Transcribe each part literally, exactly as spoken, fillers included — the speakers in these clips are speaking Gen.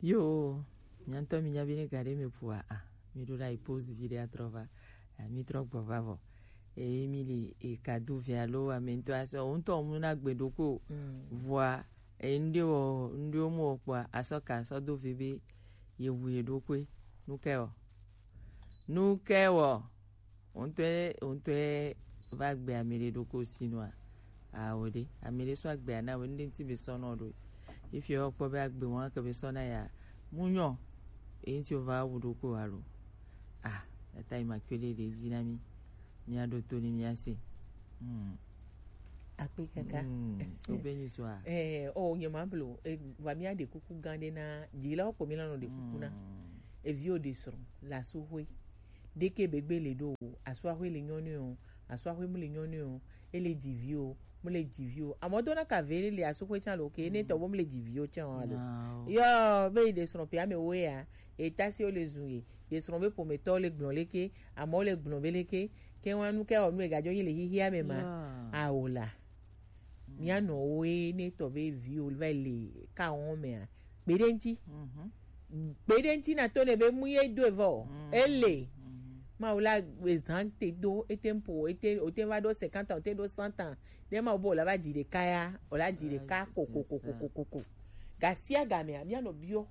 Yo, mia ŋutɔ mi nya be ne ga ɖe me ƒoa, a, mi ɖo la yi pause vi ɖe atrɔ va, a, mi trɔ gbɔ va vɔ. Eye mi li e kadu vi alo ame ŋutɔ asɔ, o ŋutɔ mu na gbe ɖo ko. Mm. Vɔa, e ŋɖe wɔ, ŋɖe wo mu wɔ kpɔa, asɔ ka, asɔ do vi be ye wu ye ɖo koe. Nu ke wɔ. Nu ke wɔ. Wo ŋutɔe, wo ŋutɔe va gbe ame ɖe ɖo ko si nua. Awo ɖe, ame ɖe sɔ agbe ana wo, ŋɖe ŋuti be sɔ nɔ ɖo. Efi wɔ kpɔ be agbe wɔn ke be sɔ na ya. Mu nyɔ, e ŋuti wo va wu ɖo ko alo. Ah, tata yi ma kpe ɖe ɖe dzi na mi. Mia ɖo to ni mia se. Hmm. Akpe kaka. Hmm. Wo be nyi sɔ a. Eh, o nye ma blo, e, va mia ɖe kuku gã ɖe na, dzilawo ko mi la nɔ ɖe kuku na. Hmm. Eviwo ɖe srɔ̃, le asu hoe. Ɖeke be gbe le ɖo o, asua hoe le nyɔnu o, asua hoe mu le nyɔnu o, ele dzi vi o, mu le dzi vi o. Amɔ dona ka ve le asu hoe tsa lo ke, ne tɔ bo mu le dzi vi o tsa o alo. No. Yo, be yi ɖe srɔ̃ pe ame wo ya, e ta si o le zun ye, ye srɔ̃ be ƒometɔ le gblɔ leke, amɔ le gblɔ be leke, ke wa nu ke o nu e gadzo yi le hihia me ma, yeah, awo la. Mía nɔwoe ne tɔ be viwo va le ka wɔm mea, kpe ɖe ŋuti. Mhm. Kpe ɖe ŋuti na to ne be mu ye do evɔ. Mm. Ele. Mhm. Mawu la ezan te do, ete ŋpo, ete, o te va ɖo cinquante ans, o te ɖo cent ans. Ne Mawu be o la va dzi ɖeka ya, o la dzi ɖeka ko, ko, ko, ko, ko, ko, ko. Gasia gamea, mía nɔ biɔ.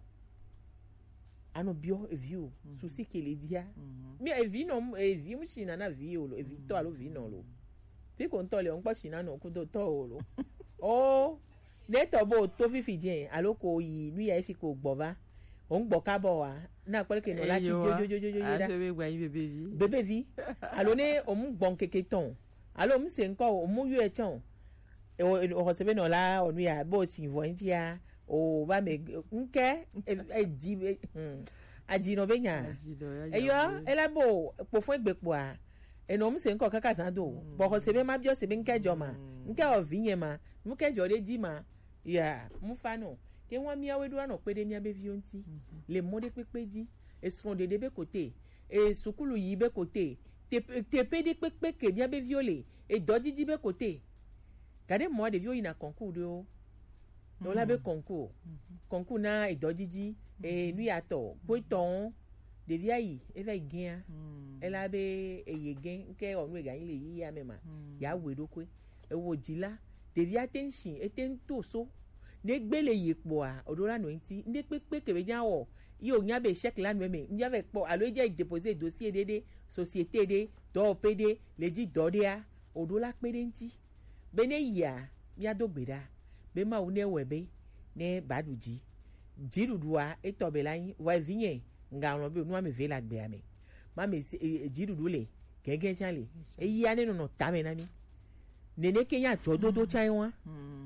Anɔ biɔ evi o, susi ke le dia. Mhm. Mi evi nɔ, evi mu si na na vi o lo, evi tɔ alo vi nɔ lo. Fi ko ŋutɔ le, ŋkpɔ si na nɔ kudo tɔ o lo. O, ne tɔ bo to fifi dze, alo ko yi, nu ya efi ko gbɔ va. O ŋgbɔ ka bɔ wa, na kpɔle ke nɔ la ti dzo, dzo, dzo, dzo, dzo, da. Ase be gba yi bebe vi. Bebe vi. Alo ne o mu gbɔn keke tɔn. Alo mu se ŋkɔ o, mu yɔ etsɔn. O, o xɔse be nɔ la, o nu ya, bo si vɔ ŋuti ya, o ba me, ŋkɛ, e, e dzi be, hmm, adzi nɔ be nya. Adzi nɔ, ya, eyɔ, ya, ela bo, kpofɔ egbe kpoa, enɔ mu se ŋkɔ kaka zan do. Mm. Bɔ xɔse be ma biɔ se be ŋkɛ dzɔ ma. Mm. Ŋkɛ o vi nye ma, ŋkɛ dzɔ ɖe dzi ma. Ya, mu fa nɔ. Ke wa miawe ɖo anɔ kpe ɖe mia be viwo ŋuti. Mhm. Le mɔ ɖe kpekpe dzi. Esrɔ̃ ɖeɖe be kote. E sukulu yi be kote. Teƒe, teƒe ɖe kpekpe ke mia be viwo le. Edɔdzidzi be kote. Gaɖe mɔ ɖeviwo yina concours ɖewo. Wo la be concours. Mhm. Concours na edɔdzidzi. E nu ya tɔ. Kpɔtɔ. Ɖevia yi, eva yi gɛa. Mm. Ela be eye gɛ, ŋkɛ ɔ nu ega yi le yi ya me ma. Mm. Ya wɛ ɖo koe. Ewo dzi la, ɖevia te ŋ si, ete ŋ to so. Ne gbe le yi kpɔa, o ɖo la nɔ ŋuti. Ŋɖe kpekpe ke be nya wɔ, yi o nya be échec la nɔ eme. Ŋ ya vɛ kpɔ, alo e dze déposer dossier ɖe ɖe, société ɖe, dɔwɔƒe ɖe, le dzi dɔ ɖea, o ɖo la kpe ɖe ŋuti. Be ne yia, mía do gbe ɖa. Be Mawu ne wɛ be, ne ba ɖu dzi. Dziɖuɖua, etɔ be la nyi, vɔ evinye, ŋga ŋlɔ be, nu ame ve le agbea me. Ma me se, e, e, dziɖuɖu le, gɛgɛ tsã le. Eya ne nɔnɔ tame na mí. Nene ke nya dzɔdodo tsã wa.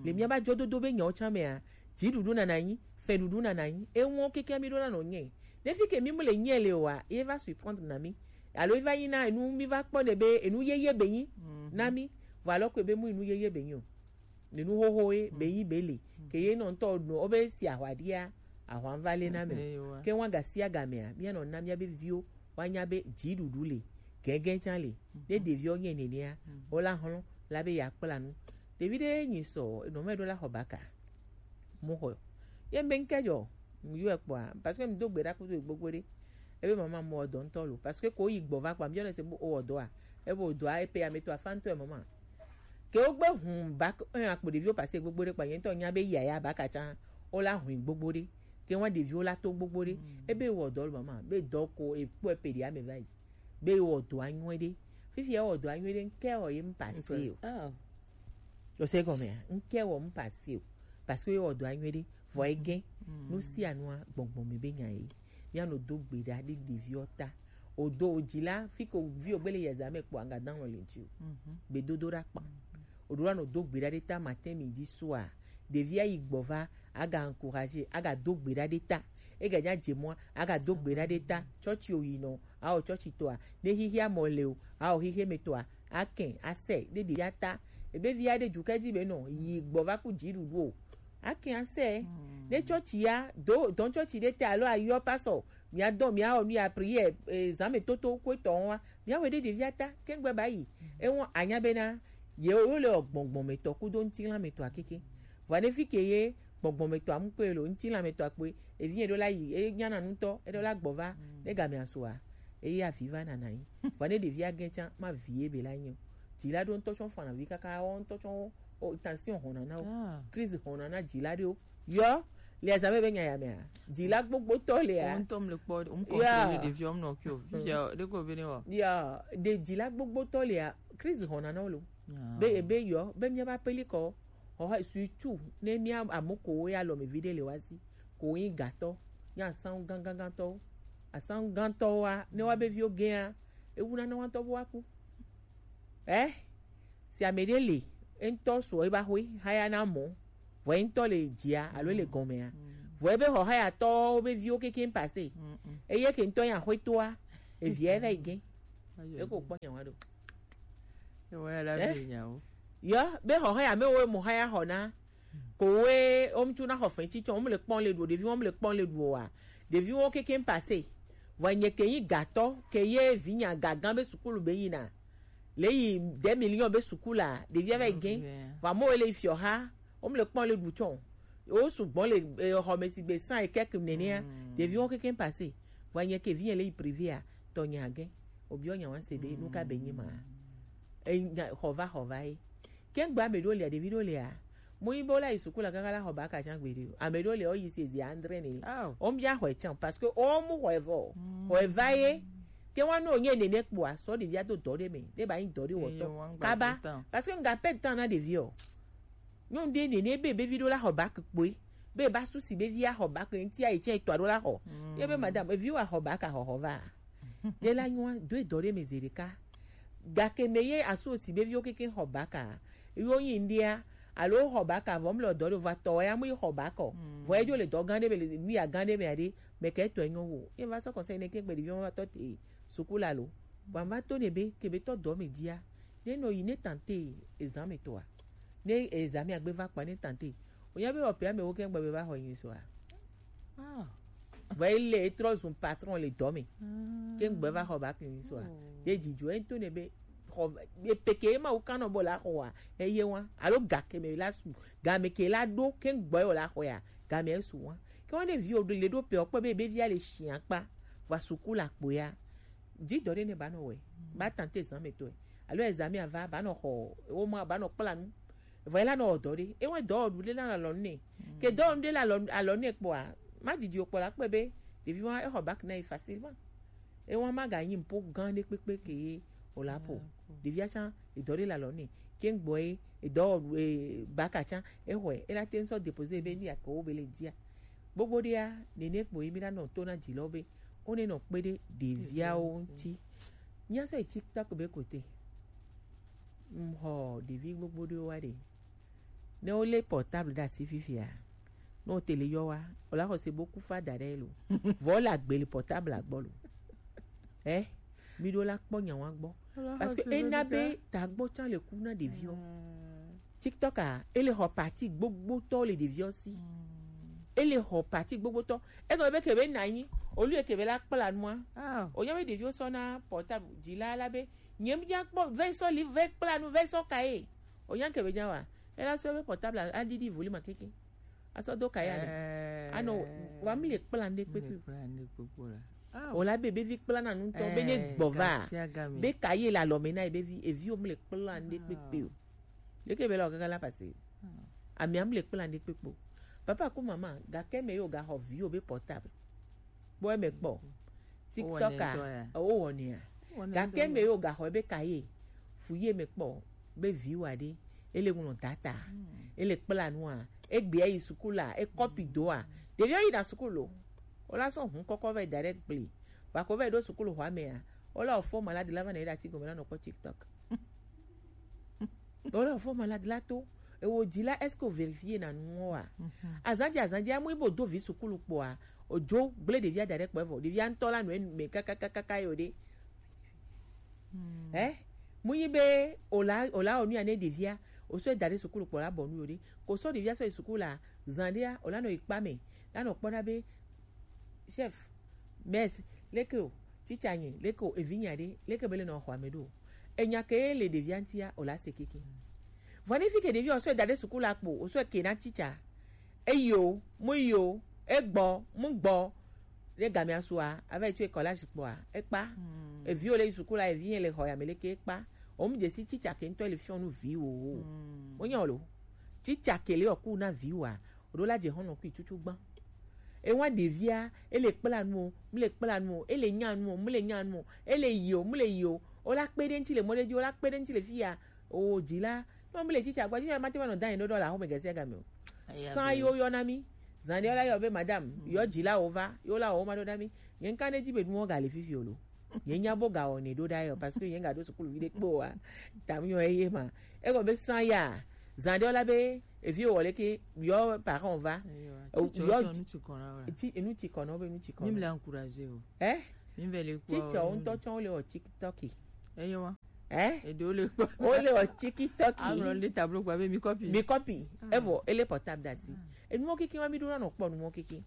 Le mía ba dzɔdodo be nyawo tsã mea, dziɖuɖu nana nyi, fɛɖuɖu nana nyi, ewɔn keke mí ɖo na nɔ nyɛ. Ne fi ke mí mu le nyɛ le wa, e va surprendre na mí. Alo e va nyi na enu mí va kpɔ ne be enu yeye be nyi na mí. Vɔ alɔ ko be mu enu yeye be nyi o. Nenu xoxo ye be yi be le. Ke ye nɔ ŋutɔ nɔ wo be si ahwa ɖia, ahwa va le na me. Ke wa gasi agamea, mía nɔ na mía be viwo wa nya be dziɖuɖu le, gɛgɛ tsã le. Ne ɖeviwo nye nenea, wo la hlɔ̃ la be ya kpla nu. Ɖevi ɖe nyi sɔ, nɔ me ɖo la xɔ baka. Mo xɔ. Ye be ŋkɛ dzɔ, ŋ yɔ kpɔa, parce que mi do gbe ɖa kudo gbogbo ɖe. Ebe mama mo dɔ ŋutɔ lo, parce que ko yi gbɔ va kpɔa, mi yɔ ne se bo o dɔa. Ebe o dɔa, e pe ya me to afa ŋutɔ mama. Ke wogbe hun bac un akpo ɖeviwo pase gbogbo ɖe kpa, nye ŋutɔ nya be yaya bac tsã, wo la hui gbogbo ɖe. Ke wa ɖeviwo la to gbogbo ɖe. Ebe wɔ dɔ le mama, be dɔ ko ekpɔ epe ɖe ame va yi. Be wɔ dɔ anyuie ɖe. Fifi ya wɔ dɔ anyuie ɖe, ŋkɛ wɔ ye m pase o. Oh. O se gɔmea, ŋkɛ wɔ m pase o. Parce que wɔ dɔ anyuie ɖe, vɔ egɛ. Nu sia nua, gbɔngbɔn me be nya ye. Mía nɔ do gbe ɖa ɖe ɖeviwo ta. O do o dzi la, fi ko vi o gbe le yeza me kpɔ anga dan le ŋuti o. Gbedodo ɖa kpa. O ɖo la nɔ do gbe ɖa ɖe ta matin midi soir. Ɖevi ayi gbɔ va, aga encourager, aga do gbe ɖa ɖe ta. Ega nya dze mɔa, aga do gbe ɖa ɖe ta. Tsɔtsi o yi nɔ, a o tsɔtsi tɔa. Ne xixia mɔ le o, a o xixia me tɔa. Akɛn, asɛ, ɖe ɖevia ta. Ebe via ɖe dzukɛ dzi be nɔ, yi gbɔ va ku dziɖuɖu o. Ake ase. Ne tsɔtsi ya, do, dɔn tsɔtsi ɖe te alo ayɔ pasɔ. Mia dɔn, mia wɔ nu ya prière, eh, zame toto ko etɔ wa. Mia wɔ ɖe ɖevia ta, kengbe ba yi. Ewɔ anya bena, ye wo le gbɔngbɔn me tɔ kudo ŋutilã me tɔ akeke. Vɔ ne fi ke ye, Gbɔgbɔmetɔ amukpe lo, ŋutilamɛtɔ akpe, evi eɖo la yi, e nyana nutɔ, eɖo la gbɔ va, ne game asua, eye avi va nana yi. Vɔ ne ɖevi agɛ tsa, ma vie be la nyo. Dzila ɖo ŋutɔ tsɔ fana vi kaka, wɔ ŋutɔ tsɔ o, tension hɔna na wo. Crise hɔna na dzila ɖewo. Yɔ, le azame be nya ya mea. Dzila gbogbotɔ le ya. Wo ŋutɔ mle kpɔ, wo contrôle ɖeviwo mnɔ kio. Fifia, ɖeko be ne wɔ. Ya, ɖe dzila gbogbotɔ le ya, crise hɔna na wo lo. Be, be yɔ, be mía va peli kɔ. Xɔ, surtout ne mía ame kowo ya lɔmevi ɖe le wa si, ko yin gatɔ, yin asangu gangangantɔwo. Asangu gantɔwoa, ne wa be viwo gɛa, ewu na ne wa ŋutɔ bo wa ku. Eh? Si ame ɖe le, eŋutɔ sɔ eba xwe, haya na mɔ, vɔ eŋutɔ le dzia, alo le gɔmea. Vɔ ebe xɔ haya tɔwo be viwo keke pase. Eye ke ŋutɔ ya xwe toa, evia eva yi gɛ. Eko kpɔ nya wa ɖo. Ewa ya la Eh? Be nyawo. Yɔ, be xɔxɔ ya me wo mo haya xɔ na. Ko we, o mtu na xɔ fɛn titɔ, o mle kpɔn le ɖu, ɖevi o mle kpɔn le ɖu wa. Ɖevi wo keke pase. Vɔ nye ke yi gatɔ, ke ye vi nya gagan be sukulu be yi na. Le yi deux millions be sukula, ɖevi ava yi gɛ. Va mo ele fiɔ ha, o mle kpɔn le ɖu tsɔ. O sugbɔ le, eh, xɔme si gbe san e kɛk nenea. Ɖevi wo keke pase. Vɔ nye ke vi le yi privé a, tɔ nya gɛ. Obiɔ nya wan se be, nu ka be nyi ma. E nya, xɔ va, xɔ va ye. Ke ŋgbe ame ɖewo lia, ɖevi ɖewo lia, mo yi be wo la yi suku la kaka la xɔ ba ka tsã gbeɖe o. Ame ɖewo lia, wo yi se zi andre ne. Wo mia xɔe tsã, parce que wo mu xɔe vɔ. Xɔe va ye. Ke wa no nye nene kpoa, sɔ ɖevia do dɔ ɖe me, ɖe ba yi dɔ ɖe wɔtɔ. Kaba. Parce que ŋga pɛ tan na ɖevi o. Nyɔnu ɖe nene be, be vi ɖo la xɔ bac kpoe. Be ba susi be vi axɔ bac ŋuti ayi tsɛ etɔa ɖo la xɔ. Ye be madame, evi wa xɔ bac a xɔxɔ va. Ye la nyɔa, do edɔ ɖe me zi ɖeka. Gake me ye asu osi be viwo keke xɔ bac a. Yo nyi ŋɖia, alo xɔ bac a vɔ mle dɔ ɖo va tɔ ya mu yi xɔ bac o. Vɔ edzo le dɔ gã ɖe me le nu ya gã ɖe me aɖe, me ke etɔe nyɔ wo. Ye va sɔ conseil ne ke gbe ɖeviwo va tɔ te suku la lo. Vɔ va to ne be, ke be tɔ dɔ me dzia. Ne nɔ yi ne tante ezan me tɔa. Ne ezan me agbe va kpa ne tante. O nya be o pe ame wo ke gbe be va xɔ yin so a. Vɔ ele e trɔ zun patron le dɔ me. Ke ŋgbe va xɔ bac yin so a. Ye dzidzɔ e to ne be xɔ e peke ma wo kanɔ bo la xɔ a. Eye wa. Alo ga ke me la su. Ga me ke la ɖo ke ŋgbe wo la xɔ ya. Ga me su wa. Ke wa ne vi o ɖo le ɖo pe o kpɔ be be via le shia kpa. Va suku la kpo ya. Dzi dɔ ɖe ne ba nɔ wɛ. Ba tante ezan me tɔe. Alo ezan me ava, ba nɔ xɔ, wo ma ba nɔ kpla nu. Vɔ ela nɔ wɔ dɔ ɖe. E wɔ dɔ wɔ ɖu ɖe la alɔ ne. Ke dɔ wɔ ɖe la alɔ, alɔ ne kpɔa, ma didi o kpɔ la kpɛ be, ɖevi wa exɔ bac na yi facilement. E wa ma ga nyi mpo gã ɖe kpekpe ke ye o la po. Ɖevia tsã, edɔ ɖe la alɔ ne. Ke ŋgbɔ ye, edɔ wɔ, e, bac a tsã, e xɔe, e la te ŋsɔ déposer be nu ya ke wo be le dia. Gbogbo ɖea, nene kpo ye mi la nɔ to na dzi lɔ be, wo ne nɔ kpe ɖe ɖeviawo ŋuti. Mía sɔ yi TikTok be kote. Ŋxɔ ɖevi gbogbo ɖewo wa ɖe. Ne wolé portable ɖe asi fifia, ne wo tele yɔ wa, o la xɔ se bo ku fa da ɖe lo. Vɔ wo le agbe le portable agbɔ lo. Eh, mi ɖo la kpɔ nya wa gbɔ. Parce que ena be ta gbɔ tsã le ku na ɖeviwo. TikTok a, ele xɔ parti gbogbotɔ le ɖeviwo si. Ele xɔ parti gbogbotɔ. Egɔme be ke be na anyi, olu ye ke be la kpla nua. O nya be ɖeviwo sɔ na portable dzi la la be, nye mi nya kpɔ, ve sɔ li, ve kpla nu, ve sɔ ka ye. O nya ke be nya wa. Ela sɔ be portable a, a didi volume a keke. A sɔ do ka ya ne. Anɔ, wa mi le kpla nu ɖe kpekpe. O la be, be vi kpla na nu tɔ, be ne gbɔ va. Be ka ye la lɔ me na ye be vi, evi o mi le kpla nu ɖe kpekpe o. Leke be la o kaka la pase. Ami am le kpla nu ɖe kpekpe o. Papa ku mama, ga ke me yo ga xɔ vi o be portable. Kpɔ eme kpɔ. TikTok a, wo wɔnɛ ya. Gake me yo ga xɔ be ka ye. Fu ye me kpɔ be vi wa ɖe. Ele ŋlɔ data. Ele kpla nua. Egbe yi sukulu a, e kɔpi do a. Ɖevi yi na sukulu. O la sɔ hun kɔkɔ vɛ da ɖe gble. Va ko vɛ ɖo sukulu xɔ ame a. O la o fo malade la va na yi ɖe ati gɔme la nɔ kpɔ TikTok. Voilà, fo malade la to. E wo dzi la, est-ce que o vérifier na nu wa? Azan dzi, azan dzi, amu ibo do vi sukulu kpɔa. O dzo gble ɖevia da ɖe kpɔ evɔ. Ɖevia ŋutɔ la nɔ enu me kakakaka yo ɖe. Eh? Mu yi be o la, o la o nu ya ne ɖevia. O sɔ da ɖe sukulu kpɔ la bɔ nu yo ɖe. Ko sɔ ɖevia sɔ yi sukulu la, zan ɖea, o la nɔ yi kpa me. La nɔ kpɔ na be chef, mais, leke o, teacher nye, leke o, evi nya ɖe, leke be le nɔ xɔ ame ɖo. Enya ke le ɖevia ŋutia, o la se keke. Vɔ ne fi ke ɖevia o sɔ da ɖe sukulu la kpo, o sɔ ke na teacher. Eyo, mu yo, egbɔ, mu gbɔ. Ne gamea sua, ava yi tso ekɔ la zikpɔa, ekpa. Eviwo le yi suku la, evi yɛn le xɔ ya me leke ekpa. O mu dzesi tsitsa ke ŋutɔ le fiɔ nu viwo o. Mo nya o lo. Tsitsa ke le ɔku na viwoa, o ɖo la dze xɔnɔ kui tutu gbã. Ewa ɖevia, ele kpla nu o, mu le kpla nu o, ele nya nu o, mu le nya nu o, ele yi o, mu le yi o. O la kpe ɖe ŋuti le mɔ ɖe dzi, o la kpe ɖe ŋuti le fi ya. O dzila, ne womele tsitsa gbɔ, tsitsa mate va nɔ da anyi ɖo ɖe le axɔme gesiagame o. San yo yɔ na mi. Zan ɖe wola yɔ be madame, yɔ dzila wo va, yo la wo ma ɖo na mi. Nye ŋka ne dzi be nuwo ga le fifi o lo. Nye nya bo ga wɔnɛ ɖo ɖa yɔ, parce que nye ga ɖo sukulu vi ɖe kpe o wa. Tam yɔ eye ma. Egɔ be san ya. Zan ɖe wola be evi wɔ leke yɔ parent va. Yɔ, tsi enu tsi kɔnɔ be nu tsi kɔnɔ. Mi me le encourager o. Eh? Mi me le kpɔ. Tsitsa wo ŋutɔ tsɔ wo le wɔ TikTok. Eyo wa. Eh? Eɖewo le kpɔ. Wo le wɔ TikTok. Aŋlɔ le tableau kpɔ be mi copy. Mi copy. Evɔ ele portable ɖe asi. Enuwo keke ma mi ɖo na nɔ kpɔ nuwo keke.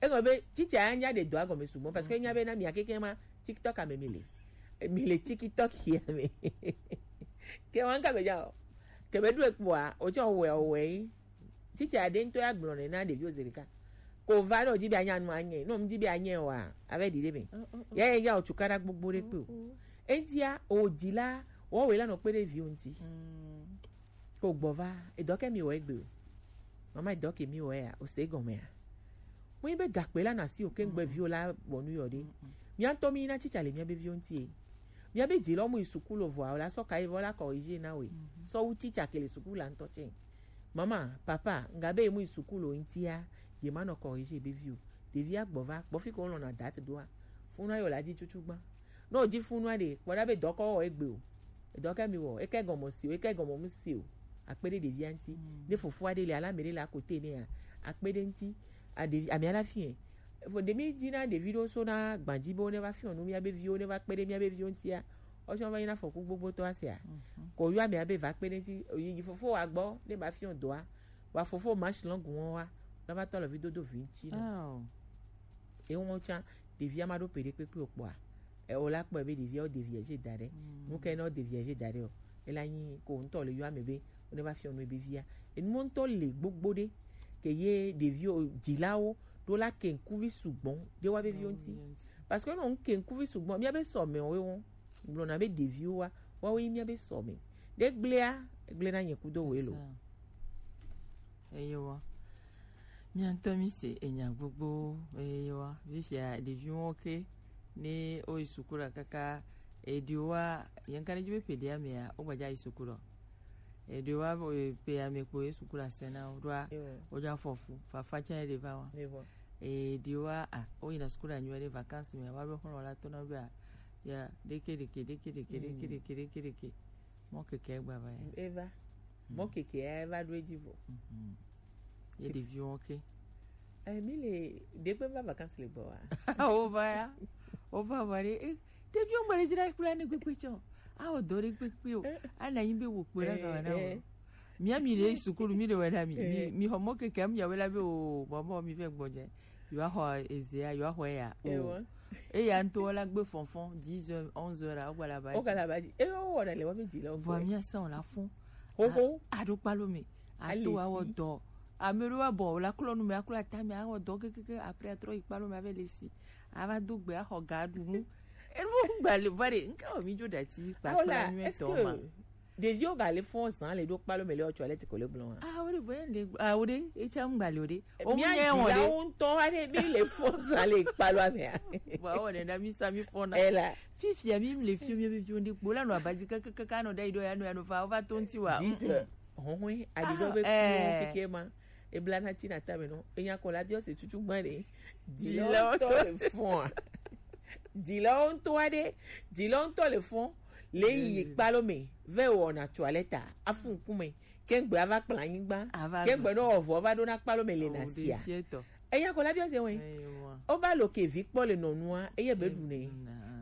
Egɔ be tsitsa ya nya ɖe dɔa gɔme sugbɔ parce que nya be na mia keke ma TikTok ame mi le. Mi le TikTok ya me. Ke wa ŋka be ja o. Ke be ɖo ekpɔa, o tsɔ wɛ o wɛ yi. Tsitsa ɖe ŋutɔ ya gblɔ nɛ na ɖeviwo zi ɖeka. Ko va ne wòdi be anya nu anye, ne wòdi be anye oa, ava ɖi ɖe me. Ya ye ya wòtu kaɖa gbogbo ɖe kpe o. Eŋutia, wòdi la, wɔwɔe la nɔ kpe ɖe viwo ŋuti. Ko gbɔ va, edɔ ke mi wɔ egbe o. Mama, edɔ ke mi wɔ ya, o se gɔmea? Mo yi be gakpe la na si o ke ŋgbe viwo la bɔ nu yɔ ɖe. Mia ŋutɔ mi na tsitsa le mia be viwo ŋuti e. Mia be dzi lɔ mu yi sukulu vɔa, o la sɔ ka yi vɔ la corriger na we. Sɔ wu tsitsa ke le sukulu la ŋutɔ tsɛ. Mama, papa, nga be mu yi sukulu ŋutia, ye ma nɔ corriger be vi o. Ɖevia gbɔ va, gbɔ fi ko lɔna date doa. Funu ayo la dzi tutu gbã. Ne wòdi funu aɖe, kpɔ ɖa be dɔkɔ wɔ egbe o. Edɔ ke mi wɔ, eke gɔmɔ si o, eke gɔmɔ mu si o. Akpe ɖe ɖevia ŋuti. Ne fofo aɖe le ala me ɖe le akote nea, akpe ɖe ŋuti. A ɖevi, ame ala fie. Efo ɖe mi dzi na ɖevi ɖo so na gbadzi be wo ne va fiɔ nu mia be viwo, ne va kpe ɖe mia be viwo ŋutia. Ɔsɔ va yi na fɔku gbogbo tɔ asia. Ko yɔ ame abe va kpe ɖe ŋuti, yi fofo wa gbɔ, ne va fiɔ dɔa. Wa fofo ma shi lɔngu wɔn wa, na va tɔ le vi dodo vi ŋuti na. Ewo tsã, ɖevia ma ɖo pe ɖe kpekpe o kpɔa. E, o la kpɔe be ɖevia, o ɖevia dze da ɖe. Nu ke ne o ɖevia dze da ɖe o, e la nyi ko ŋutɔ le yɔ ame be, o ne va fiɔ nu ebe via. Enu ŋutɔ le gbogbo ɖe, ke ye ɖevio, dzilawo, ɖo la ke ŋkuvi sugbɔ ɖe wa be viwo ŋuti. Parce que ne o ke ŋkuvi sugbɔ, mia be sɔ me o ye wo. Gblɔna be ɖeviwo wa, woawoe nye mía be sɔme. Ɖe gblẽa, egblẽna nye kudo wòe lo. Eyewa. Mía ŋutɔ mí se enya gbogbo, eyewa. Fifia ɖeviwo ke, ne woyi suku la kaka, eɖewoa, yɛn ka ne dzi be ƒe ɖea mea, wogbaja yi suku lɔ. Eɖewoa, e, ƒe ame kpo ye suku la se na wo ɖoa, wodzo afɔ fu, fafa tsã ye ɖe va wa. Eɖewoa, a, woyina suku la nyuie ɖe vacances me, woabe xlɔ la tona be a, ya, ɖeke, ɖeke, ɖeke. Mɔ keke gba va ya. Eva. Mɔ keke ya eva ɖo edzi vɔ. Ye ɖeviwo ke. Eh, mi le, ɖekpe va vacances le gbɔ wa? Wova ya. Wova va ɖe, eh, ɖeviwo ŋgba le dzra kple ne kpekpe tsɔ. Awɔ dɔ ɖe kpekpe o. Ana anyi be wo kpe ɖe ga wa na wo. Mía mi le sukulu, mi le wɛ ɖa mi. Mi, mi xɔ mɔ keke, mi ya wɛ la be o, mɔ, mɔ, mi vɛ gbɔdze. Yewoaxɔ ezea, yewoaxɔe ya. O. Eya ŋutɔ la gbe fɔnfɔn, dix heures, onze heures, wogba la ba dzi. Wogba la ba dzi. Eye wowɔ ɖa le woabe dzi le wo gbɔ. Vɔa mía sã o la fɔn. Xoxo. A-, aɖo kpalo me. Ato awɔ dɔ. Ame ɖewo abɔ, la klɔ nu me, aklɔ ata me, awɔ dɔ kekeke, après atrɔ yi kpalo me, ave le si. Ava do gbe, axɔ ga ɖu nu. Enu gba le va ɖe, ŋka wɔ mi dzo ɖati kpakpla nyuie tɔ ma. Ɖeviwo ga le fɔn zã le ɖo kpalo me le wotsɔ le tiko le gblɔ wa. Ah, wo ɖe vɔ le, ah, wo ɖe, etsa ŋgba le wo ɖe. O mu nye wɔn ɖe. Mía dzilawo ŋutɔ wa ɖe, mi le fɔn zã le kpalo mea. Vɔ, awɔ ɖe na mi sa mi fɔna. Ela. Fifia mi le fi mi, mi fi ɖe kpo la nɔ abadi kaka, kaka nɔ ɖe yi ɖo ya nɔ, ya nɔ va, va to ŋuti wa. Dix heures. Hɔhɔe, aɖi ɖɔ be keke ma. Ebla na tsi na tame nɔ. Enya kɔ la biɔ se tutu gbã ɖe. Dzilawo ŋutɔ le fɔn. Dzilawo ŋutɔ wa ɖe. Dzilawo ŋutɔ le fɔn. Le yi kpalo me. Ve wɔ na toilette. Afu ŋkume. Kengbe ava kpla anyigba. Kengbe no wɔ vɔ va ɖo na kpalo me le na sia. Enya kɔ la biɔ se wɛ. O ba lo ke vi kpɔ le nɔnua. Eye be ɖu ne.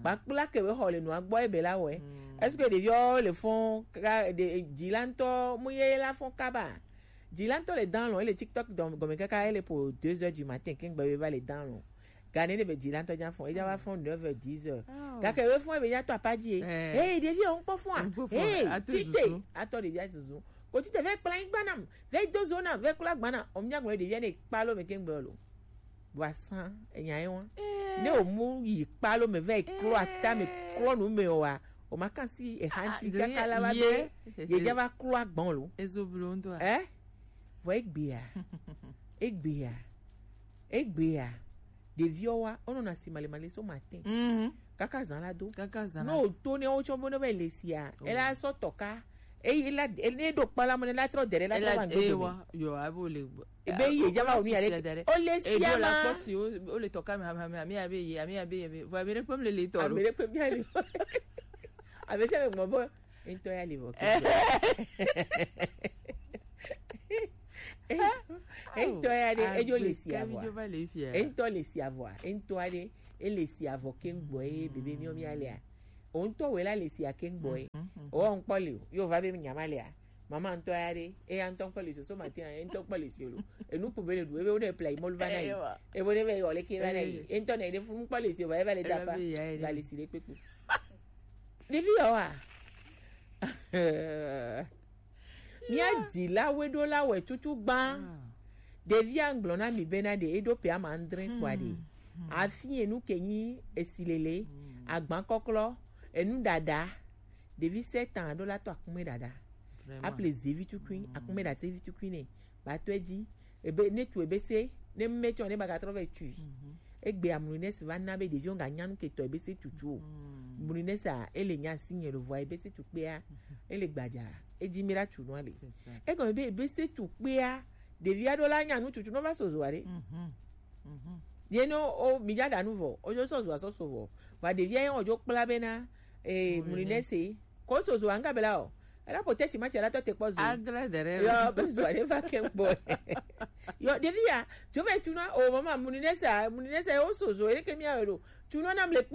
Kpakpla ke be xɔ le nua gbɔ ebe la wɛ. Est-ce que ɖeviwo le fɔn ka, ɖe, dzila ŋutɔ mu ye la fɔn kaba? Dzila ŋutɔ le dan lɔ, ele TikTok dɔm gɔme kaka, ele po deux heures du matin, kengbe be va le dan lɔ. Gane ne be dzila ŋutɔ dza fɔn, edza va fɔn neuf heures, dix heures. Gake be fɔn ebe dza tɔ apa dzi e. Hey, ɖevi o ŋkpɔ fɔn a. Hey, tite, atɔ ɖevi a zuzu. Kotite vɛ kpla nyigba nam, vɛ do zo nam, vɛ kpla gba nam. O mi nya gbɔn ɖevia ne kpalo me kengbe lo. Vɔ asan enya ye wa. Ne o mu yi kpalo me vɛ klo ata me klo nu me o wa. O ma kan si e hanti kaka la va be. Ye ja va klo agbɔn lo. Ezo blo ndo a. Eh? Vɔ egbea. Egbea. Egbea. Ɖeviwo wa, wonɔna si malemale so matin. Mhm. Kaka zã la do. Kaka zã la. No to ne wotsɔ bo ne va le sia. Oh. Ela sɔ tɔka. Eyi la ne ɖo kpala mo ne la trɔ dere la trɔ va ŋdo. Ewa yo abo le. Ebe yi eja va onu ya le. O le sia ma. Kpɔ si o le tɔka mi hami hami ami abe yi ami abe yi. Vɔ ami ɖe kpem le le tɔ lo. Ami ɖe kpem ya le. Abe se me gbɔ bo. Ŋutɔ ya le vɔ. Ŋutɔ ya ɖe edzo le si avɔa. Ŋutɔ le si avɔa. Ŋutɔ aɖe ele si avɔ keŋgbɔ ye bebe miɔ mia lea. O ŋutɔ wela le si akeŋgbɔ ye. O ŋkpɔ le o. Yo va be nyama lea. Mama ŋutɔ ya ɖe eya ŋutɔ ŋkpɔ le soso mate ya ŋutɔ ŋkpɔ le si o lo. Enu ƒo be le ɖu ebe wo ne pla yi mɔlu va na yi. Ebo ne be yɔ le ke va na yi. Ŋutɔ na yi ɖe fu ŋkpɔ le si o va eva le dapa. Va le si ɖe kpekpe. Ɖevi yawoa? Mía dzilawoe ɖo la wɛ tutu gbã. Ɖevia ŋgblɔ na mi bena ɖe eɖo pe ama andre kpɔa ɖe. Afi enu ke nyi esilele, agba kɔklɔ, enu ɖaɖa. Ɖevi sept ans ɖo la tɔ akume ɖaɖa. Aple zevi tukui, akume ɖa zevi tukui ne. Ba tɔ edzi. Ebe ne tu ebe se ne me tsɔ ne ba gatrɔ vɛ tui. Egbe amlu ne si va na be ɖeviwo ga nyanu ke tɔ ebe se tutu o. Mlu ne sa ele nya si nye lo vɔ ebe se tu kpea. Ele gbadza. Edzi mi la tu no ale. Egɔme be ebe se tu kpea. Ɖevi aɖewo la nyanu tutu no va sozo aɖe. Ye no o mi dza ɖa nu vɔ o dzo sɔzo asɔso vɔ. Vɔ ɖevi ayi o dzo kpla be na. Mlu ne se ko sozo anga bela o. Ela po teti ma ti ala tɔ te kpɔ zo. Agle dere. Yo be zo ale va ke kpɔ. Yo ɖevi ya tso ve tuna o mama muni ne sa muni ne sa o so zo ele ke mi awe do tuna nam le kpe.